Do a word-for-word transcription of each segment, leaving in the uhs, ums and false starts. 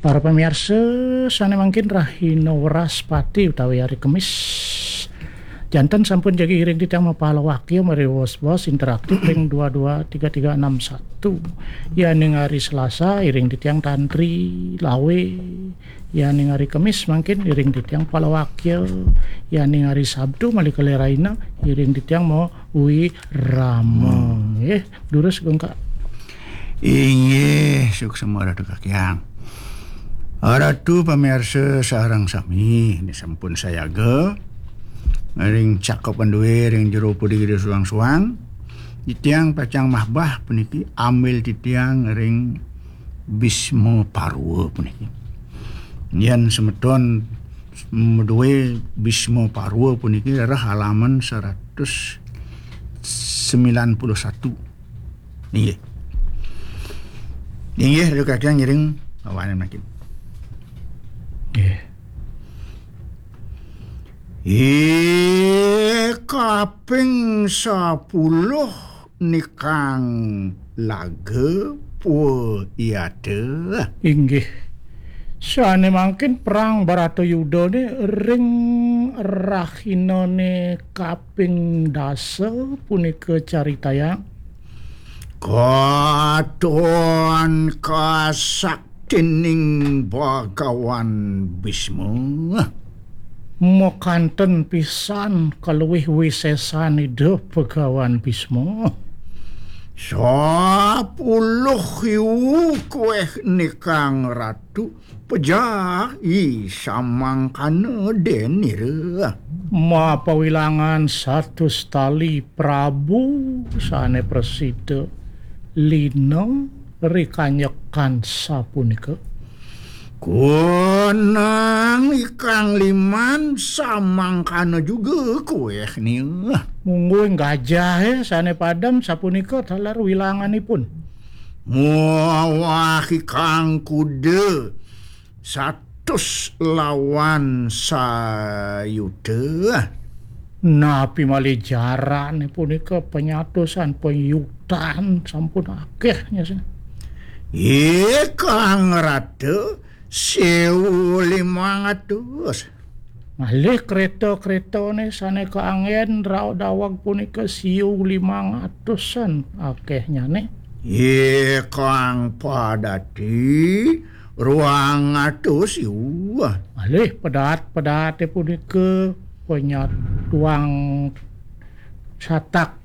Para pamiarsa, sane mangkin rahina Wraspati utawi hari Kemis. Janten sampun jagi iring titiang mapalawakya mari wos-wos interaktif ring dua dua tiga tiga enam satu. Yaning hari Selasa iring titiang tantri lawe. Yaning hari Kemis mangkin iring titiang palawakya. Yaning hari Sabtu malih kalih rahina iring titiang mawirama. Nggih, durus Gungka. Inggih, suksma Ratu Kakyang. Ratu pamiarsa sareng sami, ini sampun sayaga ring cakepan duwe ring jero puri gede suang-suang. Titiang pacang mahbah puniki ambil titiang ring Bisma Parwa puniki. Yen semeton maduwe Bisma Parwa puniki rereh halaman seratus sembilan puluh satu. Inggih. Inggih, Ratu Kakyang ngiring awanan mangkin. Nggih. Eh, kaping sepuluh nikang laga pwa iyata. Inggih. Sane mangkin perang Bratayudane ring rahinane kaping dasa punika caritayang. Katon kasaktining Bagawan Bisma. Makanten pisan kaluwih wisesan Ida Bagawan Bisma. Sapuluh iwu kueh nikang ratu, pejahi samangkana denira. Mapawilangan satus tali Prabu sane prasida lina rikanyekan sapunika. Kunang ikang liman samangkana juga kueh nia. Mungguing gajahe sane padem sapunika taler wilanganipun. Muah ikang kuda satus lawan sayuta. Napi malih jarane punika penyatusan penyutan sampun akeh nyasih. Ikang rata sewu limang atus. Malih kereta-keretane sane kaanggen raod daweg punika siu limang atusan akehnyane. Ikang padati ruang atus iwa. Malih pedaat-pedaate punika penyatuang satak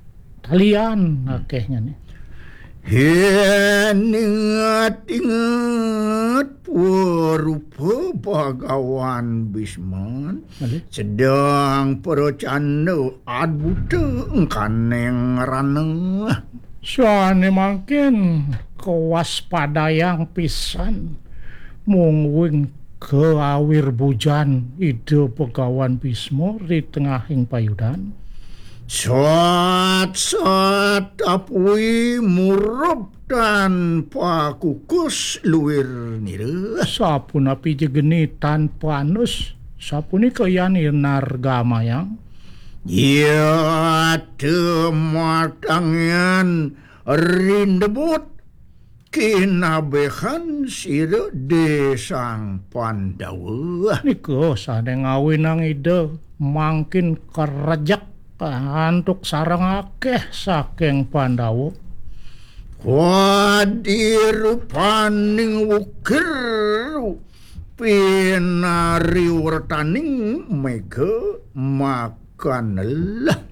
talian akehnyane. Yen inget-inget pwa rupa Bagawan Bisman, malih sedang pracanda adbuta engkaneng rana. Sane mangkin kawaspadayang pisan mungguing kawirbujan Ida Bagawan Bisma ri tengahing payudan. Sat-sat apui murub tan pakukus luir nira. Sapunapi jegeni tan panus, sapunika yan inargamayang. Iya tematangan rindebut kinabehan sira desang Pandawa. Nika sane ngawinang Ida mangkin karejek antuk sareng akeh saking Pandawa. Wadi rupaning ukir pinariwertaning mega makanlah.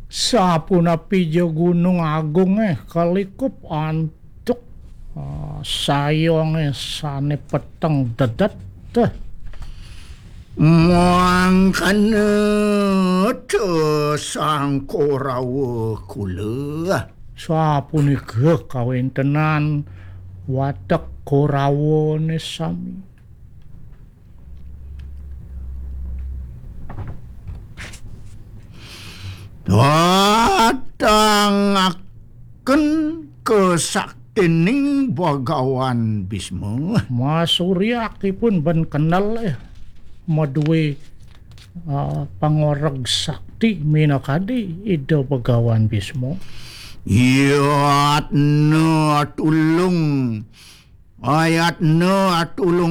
Sapunapi ja gunung agunge kalikup antuk, ah, sayonge sane peteng dedet. Mangkana ta sang Korawa kula. Sapunika kawentenan watek Korawane sami. Datangaken kesaktining Bagawan Bisma. Masuryakipun ben kenel, eh, madue, ah, pangoreg sakti minakadi Ida Bagawan Bisma. Yatna tulung, ayatna tulung